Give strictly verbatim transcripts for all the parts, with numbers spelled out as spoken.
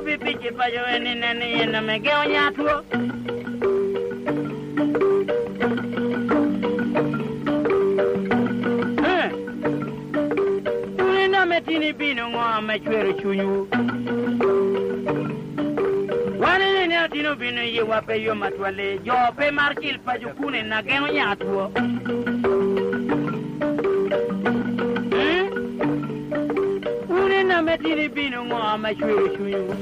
Pi pic i paco en i nen i en ame geo nya two. Eh, wun en ame tin ibino ŋo ame cwero cunywu? Wan en ene atin obino i yiwa pe yom atwal, jo pe mar cil paco kun en ageno nya two. Mm? Wun en ame tin ibino ŋo ame cwero cunywu?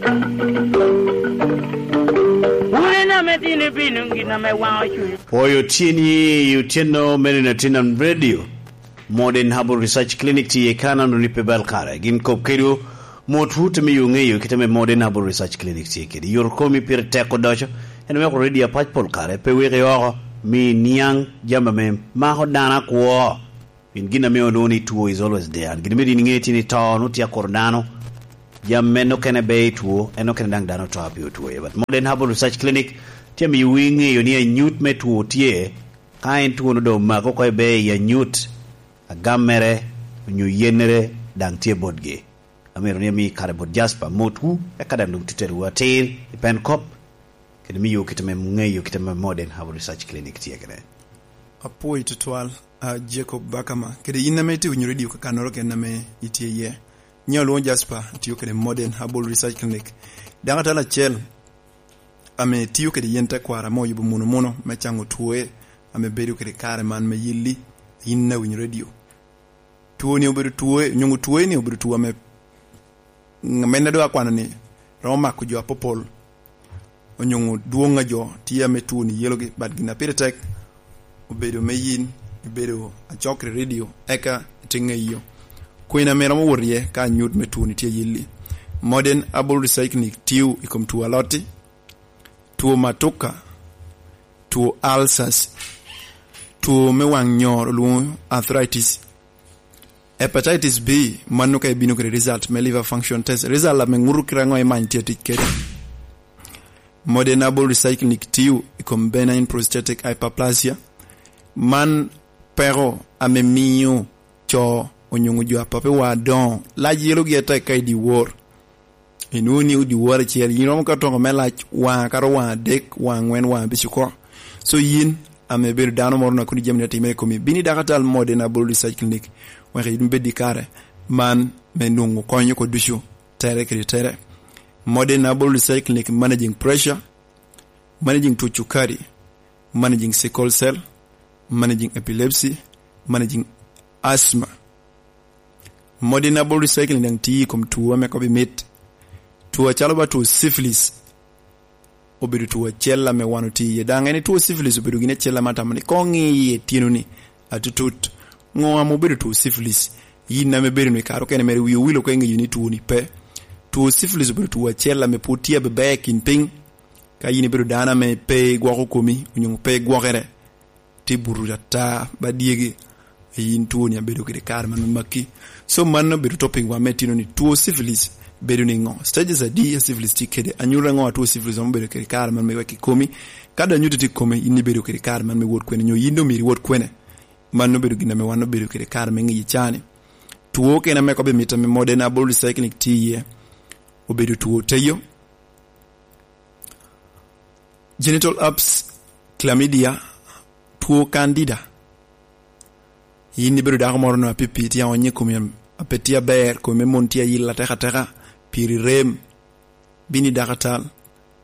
Wun en ame tin ibino gin ame waŋo cunywu. Pwoyo tyen i otyeno mene na tin am radio. Modern Herbal Research Clinic tye i Kanan, runi pe bal kare. Gin kop kedwu, mot wut ame yo ŋeyo kite ame Modern Herbal Research Clinic tye kede. Yor komi pire tek odoco, en weko radio apac pol kare, pe weke oko, mi niaŋ jami ame mako dano akwo. Pien gin ame onwoŋo ni two is always there. Gin me din ŋe tye ni to, nwoŋo tye akuro dano. Jami men okene be i two, en okene daŋ dano to a pe otwo. But Modern Herbal Research Clinic tye amiyo wi ŋeyo ni anyut me two tye. Ka en two no doŋ omako oko i be i anyut, agam mere, onyo yennere daŋ tye botgi. Amito ni ami kare bot Jasper motwu, eka daŋ doŋ tuterowu atir i pen kop, kede miyo kite me ŋeyo kite me Modern Herbal Research Clinic tye kede. Apwoyo tutwal, a, Jacob Bakama, kede yin ame itye winyo radio kakannoro ken ame itye iye. Nyo lwoŋo Jasper, atiyo kede Modern Herbal Research Clinic. Daŋ atala acel ame tio kede yen tekwaro ame oyubo muno muno me caŋo twoe ame bedo kede kare man me yelli, yin awinyo radio. Twoni obedo twoe, onyoŋo twoe ni obedo two ame, ame na doŋ akwano ni romo mako jo apopol, onyoŋo dwoŋ a jo tye ame twoni yelogi, but gin a pire tek obedo me yin ibedo acok i radio, eka ite ŋeyo kwena ame romo wot iye ka anyut me twoni tye yelli. Modern Herbal Recycling tio i kom two alotti, two matuka, two ulcers, two me waŋ nyor olwoŋo arthritis, hepatitis B, mano ka ibino kede result me liver function test. Result ame ŋuto kite aŋo imany tye tic kede. Modern Herbal Recycling tio i kom benign prostatic hyperplasia. Man peko ame mio co onyoŋo jo apape wa adoŋo lac yelogi atek ka i dyewor. Inwoŋo ni odi woro acel, yin romo ka toko me lac waŋ akato waŋ adek, waŋ aŋwen, waŋ abic oko. So yin ame ibedo dano moro na kodi jami ne timere i komi, bini dakatal Modern Herbal Research Clinic, wek yin ibed i kare man me nwoŋo kony oko ducu, tere kede tere. Modern Herbal Research Clinic managing pressure, managing two cukari, managing sickle cell, managing epilepsy, managing asthma. Modern Herbal Recycling daŋ tye i kom two ame kop i mit. Two acalo ba two syphilis obedo two acel ame wan otye iye. Daŋ en two syphilis obedo gin acel ame atamo ni koŋ i iye tyenoni atutut. Ŋo ame obedo two syphilis? Yin ame bedo ni kare okene mere wi owil oko iŋeyo ni twoni pe. Two syphilis obedo two acel ame pwod tye abeber i kin piny. Ka yin ibedo dano ame pe igwoko komi, onyo pe igwokere, tye buto ata ba dyegi, yin twoni abedo kede kare man me makki. So mano obedo topic wa me tino ni two syphilis bedo ni ŋo? Stages adi a syphilis tye kede? Anyuto ŋo a two syphilis ame obedo kede kare man me wek i komi? Ka dong anyuto tye i komi, yin ibedo kede kare man me wot kwene, nyo yin dong myero iwot kwene? Mano obedo gin ame wan obedo kede kare me ŋiyi cani. Two kene ame kobe mito ame modern abol recycling tye iye, obedo two teyo, genital herpes, chlamydia, two candida. Yin ibedo dako moro no apipi, tye aonyo i komi, ape tye aber, komi me mon tye ayil atek ateka, piri rem, bini dako atal.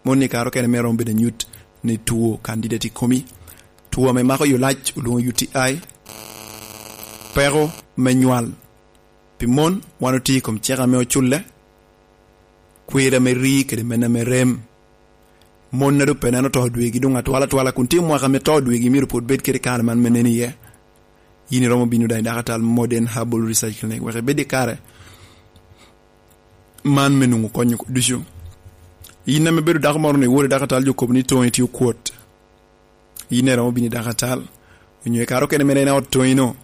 Mon ni kare okene mere romo bedo anyut ni two candida tye i komi. Two ame mako yo lac olwoŋo U T I, peko me nywal. Pi mon, wan otye i kom cik ame oculle, kwir ame ri kede men ame rem. Mon a doŋ pe neno to dwegi doŋ atwal atwala kun tye mwaka ame to dwegi myero pwod bed kede kare man me nen iye. Yin iromo bino daŋ i dakatal modern herbal research clinic wek ibed i kare man me nwoŋo konyo ducu. Yin ame bedo dako moro ni iwor i dakatal jo kobo ni toŋi tye okwot. Yin iromo bino i dakatal, onyo i kare okene mere en ot toŋino,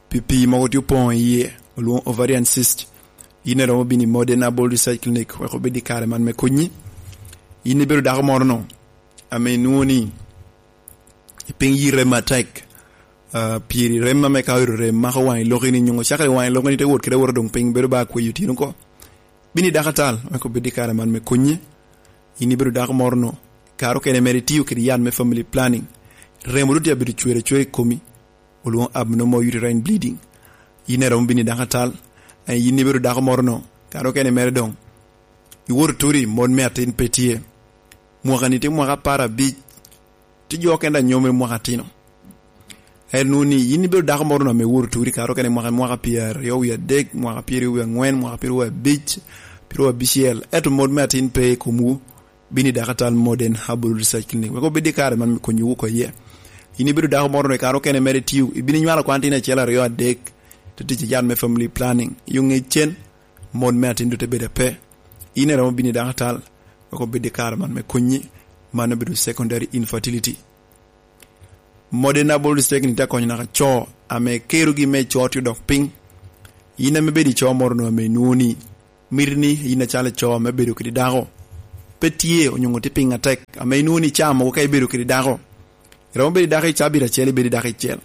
pi pii mogo tye opoŋo iye, olwoŋo ovarian cyst. Yin iromo bino i modern herbal research clinic wek obed i kare man me konyi. Yin ibedo dako moro no, ame inwoŋo ni i piny yi rem atek, ah, piri rem ame ka oyuto rem mako waŋ i loki ni, nyoŋo cakere waŋ i loki ni te wot kede awota doŋ piny bedo ba kweyo tyen oko. Bino i dako atal, wek obed i kare man me konyi. Yin ibedo dako moro no, kare okene mere itiyo kede yat me family planning, remo doŋ tye abedo cwer acwer i komi, olwoŋo abnormal uterine bleeding. Yin iromo bino i dako atal. Eh, yin ibedo dako moro no, kare okene mere doŋ iwoto turi, mon me atin pe tye. Mwaka-ni tye mwaka apar abic, tye jo okene daŋ nyome mwaka atino. En nu ni yin ibedo dako moro no ame iwoto turi, kare okene mwaka, mwaka pyeraryo wie adek, mwaka pyeraryo wie aŋwen, mwaka pyeraryo wie abic, pyeraryo abicel, ento mon me atin pe i komwu. Bino i dako atal Modern Herbal Research Clinic, wek obed i kare man me konyowu oko iye. Yin ibedo dako moro no, i kare okene mere itiyo, ibino inywalo kwan tin acel, aryo, adek, te tic i yat me family planning, i oŋec cen, mon me atin doŋ te bedo ape. Yin iromo bino i dako atal, wek obed i kare man me konyi, man obedo secondary infertility. Modern Herbal Research Clinic tye akonyo naka co ame kerogi me co tye odok piny. Yin ame bedo i co moro no ame inwoŋo ni miti ni yin acalo co ame bedo kede dako pe tye, onyo tye piny atek, ame inwoŋo ni caa mogo ka ibedo kede dako, iromo bedo i dako i cabit acel, ibedo i dako icel,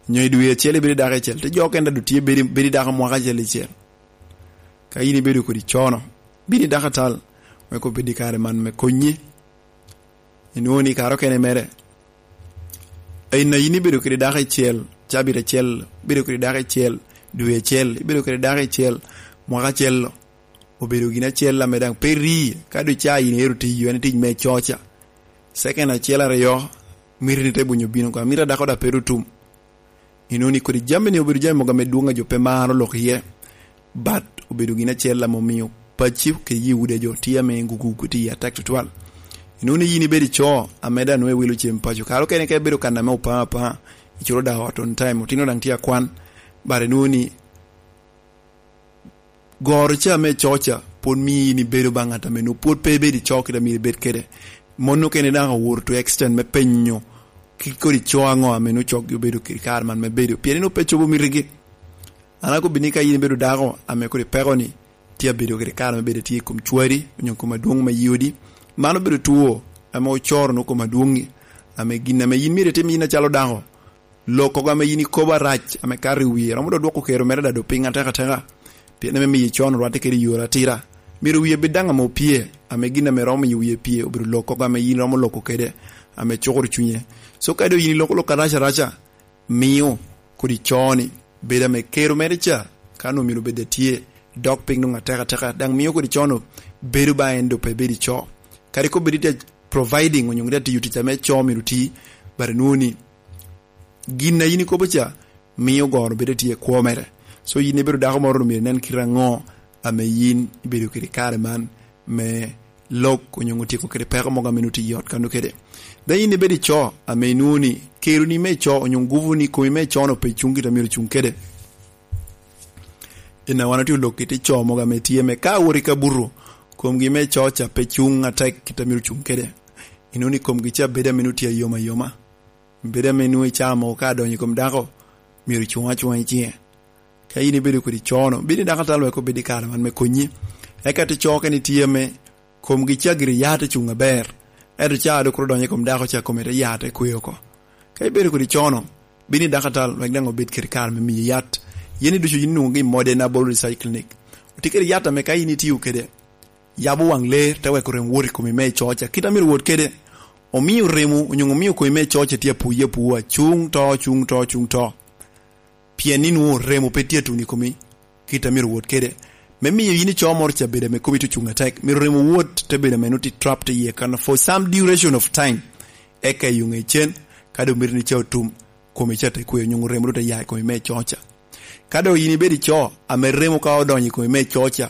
nyo i dwe acel ibedo i dako icel, te jo okene daŋ tye bedo, bedo i dako mwaka acel icel. Ka yin ibedo kodi co no, bino i dako atal, wek obed i kare man me konyi. Inwoŋo ni kare okene mere, i na yin ibedo kede dako icel, cabit acel, ibedo kede dako icel, dwe acel, ibedo kede dako icel, mwaka acel lo, obedo gin acel ame daŋ pe ri, ka doŋ ca yin ero tiyo, en tic me coca. Second acel aryo, miti ni te bunyo bino oko, miti a dako daŋ pe ru tum. Inwoŋo ni kodi jami ni obedo jami mogo ame dwoŋ a jo pe maro lok iye, but obedo gin acel ame omio pacci kede Yuda jo tye ame gugugu tye atek tutwal. Inwoŋo ni yin ibedo i co ame daŋ nwoŋo iwilo cem paco, kare okene ka ibedo kan ame opa apa, iculo daŋ ot on time, otino daŋ tye akwan, but inwoŋo ni goro ca me co ca pwod mio yin ibedo ba ŋat ame nwoŋo pwod pe ibedo i co kite a myero ibed kede. Mon okene daŋ owoto to extent me penyo kit kodi co aŋo ame nwoŋo coggi obedo kede kare man me bedo, pien nwoŋo pe cobo mitigi. An akobbi ni ka yin ibedo dako ame kodi peko ni tye abedo kede kare me bedo tye i kom cwari onyo i kom adwoŋ me yodi, man obedo two ame ocoro nwoŋo kom adwoŋi, ame gin ame yin myero itim yin acalo dako, lok kogo ame yin ikobo arac ame kato i wie, romo dok dwoko kero mere daŋ dok piny atek ateka, pien ame miyo icon orwatte kede i yore atira. Myero wie bed daŋ ame opye, ame gin ame romo miyo wie pye obedo lok kogo ame yin romo loko kede, ame cukoro cunye. So ka doŋ yin iloko lok arac araca, mio kodi co ni bedo ame kero mere ca, ka nwoŋo myero bed atye, dok piny nwoŋo atek ateka, daŋ mio kodi co no bedo ba en doŋ pe bedo i co. Kadi kobedi tye providing onyo tye tiyo tic ame co myero ti, but nwoŋo ni gin a yin ikobo ca mio goro bedo tye i kwo mere. So yin ibedo dako moro, myero inen kite aŋo ame yin ibedo kede i kare man me lok onyo tyeko kede peko mogo ame nwoŋo tye i ot kano kede. Daŋ yin ibedo i co ame inwoŋo ni keroni me co onyo gupu ni komi me co no pe cuŋ kit a myero cuŋ kede. Ina wan otye olok kit i co mogo ame tye me ka wot i kabuto, komgi me co ca pe cuŋ atek kit a myero cuŋ kede. Inwoŋo ni komgi ca bedo ame nwoŋo tye ayom ayoma. Bedo ame nwoŋo i caa mogo ka adonyo i kom dako, myero icuŋ acuŋa i ciŋe. Ka yin ibedo kodi co no, bino i dako atal wek obed i kare man me konyi. Eka te co kene tye ame komgi ca gire ya te cuŋ aber, ento ca dok kuro donyo i kom dako ca kome te ya te kwe oko. Ka ibedo kodi co no, bino i dako atal wek daŋ obed kede kare me miyi yat. Yen i ducu yin inwoŋogi i Modern Herbal Research Clinic. Otye kede yat ame ka yin itiyo kede, yabo waŋ ler, te weko rem wot i komi me i co ca kit a myero wot kede. Omio remo onyo omio komi me i co ca tye apuye apuwa, cuŋ to, cuŋ to, cuŋ to. Pien ni nwoŋo remo pe tye atuno i komi kit a myero wot kede. Me miyo yin i co moro ca bedo ame komi tye ocuŋ atek, myero remo wot te bedo ame nwoŋo tye trapped iye kan for some duration of time. Eka i oŋe cen, ka doŋ mito ni ca otum, komi ca te kwe, onyo remo doŋ te ya i komi me i co ca. Ka doŋ yin ibedo i co ame remo ka odonyo i komi me i co ca,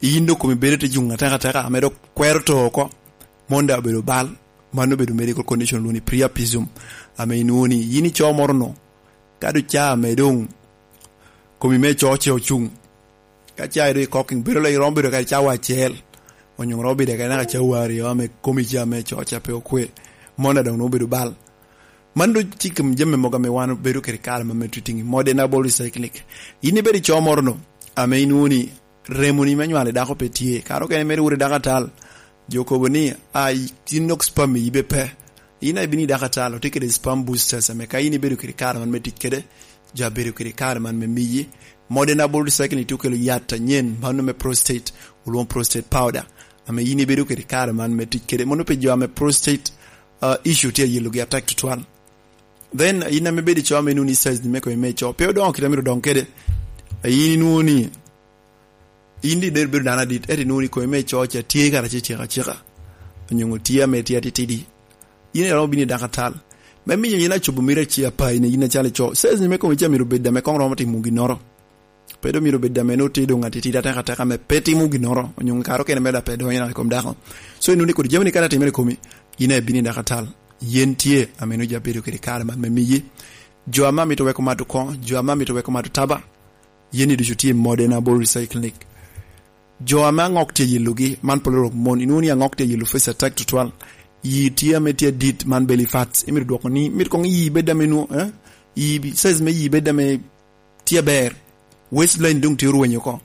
yin doŋ komi bedo te cuŋ atek ateka, ame dok kwero to oko, mon daŋ obedo bal, mano obedo medical condition lwongo ni priapism, ame inwoŋo ni yin i co moro no, ka doŋ ca ame doŋ komi me co ca ocuŋ, ka ca ido i cooking, bedo lo iromo bedo kadi cawa acel, onyo romo bedo kadi naka cawa aryo, ame komi ca me co ca pe okwe, mon daŋ nwoŋo obedo bal. Man doŋ tye i kom jami mogo ame wan obedo kede kare ma me treating i Modern Herbal Recycling. Yin ibedo i co moro no, ame inwoŋo ni remoni me nywalo i dako pe tye. Kare okene mere wot i dako atal, jo kobo ni, "A, tin nok sperm i yibe pe." Yin a ibino i dako atal, otye kede sperm boosters, ame ka yin ibedo kede kare man me tic kede, jo abedo kede kare man me miyi, Modena body cycle ni tye okelo yat anyen, mano me prostate, olwongo prostate powder, ame yin ibedo kede kare man me tic kede. Mono pi jo ame prostate uh, issue tye ayelogi atek tutwal. Then yin ame bedo i co ame inwoni size ni me kome me co pe odongo kite myero odong kede. Yin inwoni in di der bedo dano adit, eti inwoni kome me co ca tye kara ce cika cika, onyo tye ame tye atitidi. Yin iromo bino i dakatal me miyo yin acobo miro aci apai ni yin acalo ico size ni me kome ca myero obed ame kong romo timo ginnoro. Pe doŋ myero bed ame nwoŋo tye doŋ atitidi atek ateka ame pe timo ginnoro, onyo kare okene mere pe donyo i kom dako. So inwoni kodi jami ni kara timere i komi, yin aye bino i dakatal. Yen tye ame nwoŋo ja bedo kede kare man me miyi. Jo ame amito weko mato koŋo, jo ame amito weko mato taba, yen ni ducu tye i Modena Body Recycling. Jo ame aŋok tye yelogi, man polo rok mon, inwoni aŋok tye yelo face attack tutwal. Yi tye ame tye adit, man belly fats. Imito dwoko ni, imito koŋ yi bed ame nwo, eh? Yi, size me yi bed ame tye aber. Waistline doŋ tye orwenyo oko.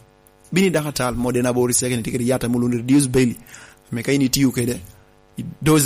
Bini dakatal, Modena Body Recycling tye kede yat ame olwoŋo ni reduce belly. Ame ka in itiyo kede, doze